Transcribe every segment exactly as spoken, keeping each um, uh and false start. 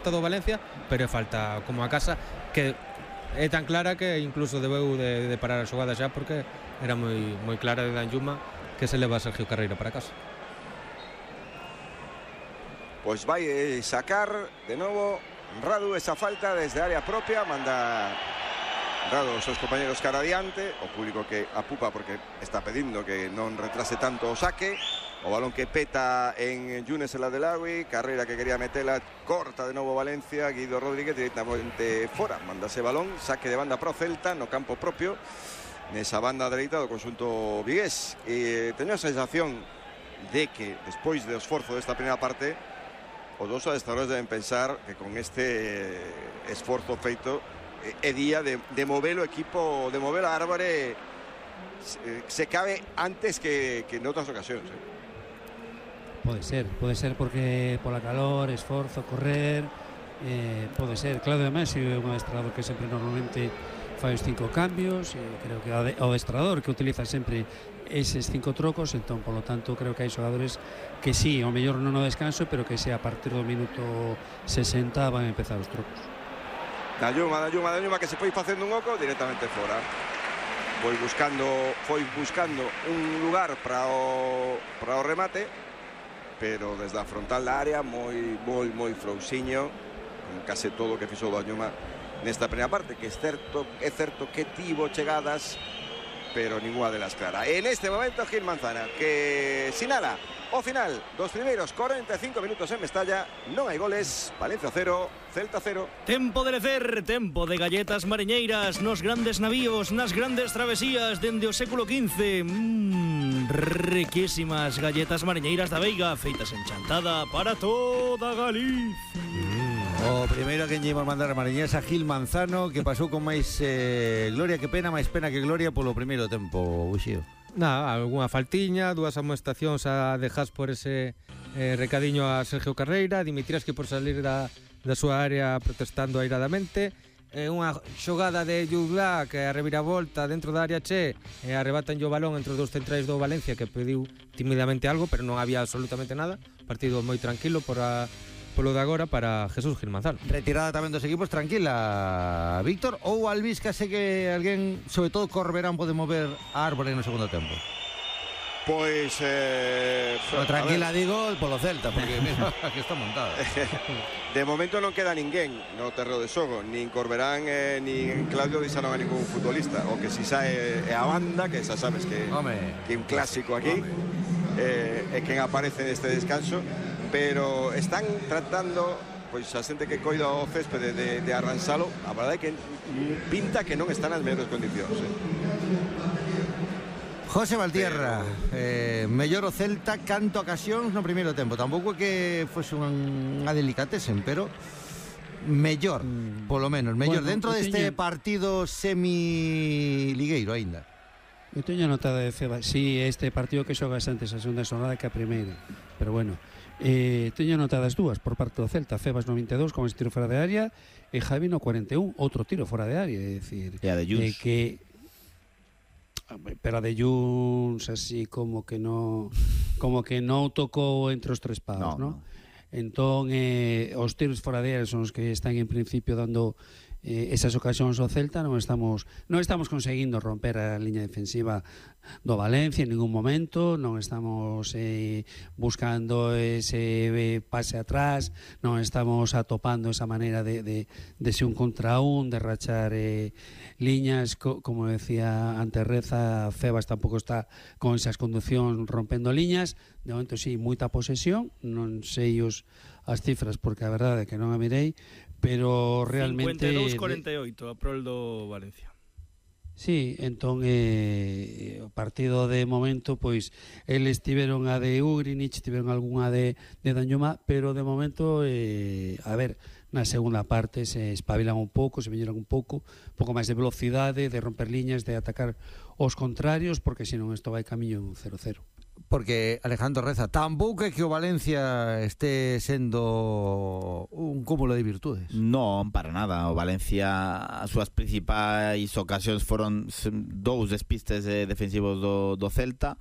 falta do Valencia, pero é falta como a casa que é tan clara que incluso debeu de, de parar a xogada xa, porque era moi moi clara de Danjuma que se leva a Sergio Carreira para casa. Pois vai sacar de novo Radu esa falta desde área propia, manda Radu os seus compañeros cara adiante, o público que apupa porque está pedindo que non retrase tanto o saque. O balón que peta en Yunes el Adelawi, Carreira que quería metela, corta de novo Valencia, Guido Rodríguez directamente fora, manda ese balón, saque de banda pro Celta no campo propio, nesa banda dereita do conxunto vigués. E teño a sensación de que despois do esforzo desta primeira parte, os dous adestradores deben pensar que con este esforzo feito é día de, de mover o equipo, de mover a Árbore se, se cabe antes que, que en outras ocasións, eh. Pode ser, pode ser porque pola calor, esforzo, correr, eh, pode ser. Claudio Messi é un adestrador que sempre normalmente fai os cinco cambios, e creo que o adestrador que utiliza sempre eses cinco trocos, entón, polo tanto, creo que hai xogadores que sí, ao mellor non no descanso, pero que sí, a partir do minuto sesenta van a empezar os trocos. Danjuma, Danjuma, Danjuma que se foi facendo un oco directamente fora. Foi buscando, foi buscando un lugar para o, para o remate, pero desde a frontal da área moi, moi, moi frouxiño, con case todo o que fixo o Danjuma nesta primeira parte, que é certo, é certo que tivo chegadas, pero ninguna delas clara. En este momento Gil Manzana, que sinala o final dos primeiros cuarenta e cinco minutos en Mestalla. Non hai goles, Valencia cero, Celta cero. Tempo de lecer, tempo de galletas mariñeiras nos grandes navíos, nas grandes travesías dende o século quince. Mmm, riquísimas galletas mariñeiras da Veiga, feitas en Chantada para toda Galicia. O primeiro que lle imos mandar a mariñés a Gil Manzano, que pasou con máis eh, gloria que pena, máis pena que gloria polo primeiro tempo, Uxío. Nada, algunha faltiña, dúas amonestacións a dejas por ese eh, recadiño a Sergio Carreira, Dimitrievski por salir da, da súa área protestando airadamente, eh, unha xogada de Jugla que a reviravolta dentro da área che, e arrebatan o balón entre os dous centrais do Valencia, que pediu timidamente algo, pero non había absolutamente nada, partido moi tranquilo por a polo de agora para Jesús Gil Manzano. Retirada tamén dos equipos, tranquila, Víctor, ou Albisca, sei que alguén, sobre todo Corberán, pode mover a Árbore no segundo tempo? Pois eh, o tranquila digo polo Celta, porque mira, que está montado. De momento non queda ninguén no terreo de xogo, nin Corberán eh, nin Claudio deixaron a ningún futbolista. O que si sae é a banda, que xa sabes que que un clásico aquí, eh, é quen aparece neste descanso. Pero están tratando, pois a xente que coida o céspede de, de arransalo, a verdade é que pinta que non están nas mellores condicións, eh. José Valtierra, eh, mellor o Celta canto ocasións no primeiro tempo. Tampouco é que fose unha delicatesen, pero mellor, mm. polo menos, mellor bueno, dentro deste teño... partido semi-ligueiro aínda. Eu teño notado de Feba, si sí, este partido que xogas antes a segunda xornada que a primeira, pero bueno, eh, teño notadas dúas por parte do Celta, Febas no vinte e dous con ese tiro fora de área e Javi no cuarenta e un, outro tiro fora de área, é dicir, e a de Junts, eh, que pero a de Junts así como que no como que non tocou entre os tres paus, no, no? no. Entón, eh, os tiros fora de área son os que están en principio dando eh, esas ocasións ao Celta. Non estamos non estamos conseguindo romper a liña defensiva do Valencia en ningún momento, non estamos eh, buscando ese eh, pase atrás, non estamos atopando esa maneira de, de, de ser un contra un, de rachar eh, liñas, co, como decía antes Reza, Febas tampouco está con esas conduccións rompendo liñas. De momento sí, moita posesión, non sei os as cifras porque a verdade é que non a mirei, pero realmente cincuenta e dous a cuarenta e oito a prol do Valencia. Sí, entón eh, o partido de momento pois eles tiveron a de Ugrinich, tiveron algunha de, de Danjuma, pero de momento eh, a ver, na segunda parte se espabilan un pouco, se viñeron un pouco un pouco máis de velocidade, de romper liñas, de atacar os contrarios, porque senón isto vai camiño un cero cero. Porque Alejandro Reza, tampouco é que o Valencia este sendo un cúmulo de virtudes. Non, para nada. O Valencia, as súas principais ocasións foron dous despistes defensivos do, do Celta,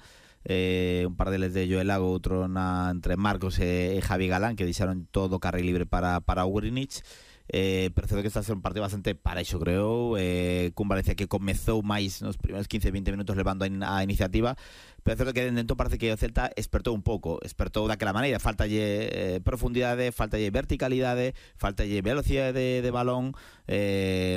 eh, un par deles de Joel Lago, outro na, entre Marcos e, e Javi Galán, que deixaron todo carril libre para, para Ugrinic. Eh, pero certo que está a ser un partido bastante parexo, creo, eh, cun Valencia que comezou máis nos primeiros quince veinte minutos levando a, in, a iniciativa, pero certo que dentro parece que o Celta espertou un pouco, espertou daquela maneira, faltalle eh, profundidade, faltalle verticalidade, faltalle velocidade de, de balón, eh,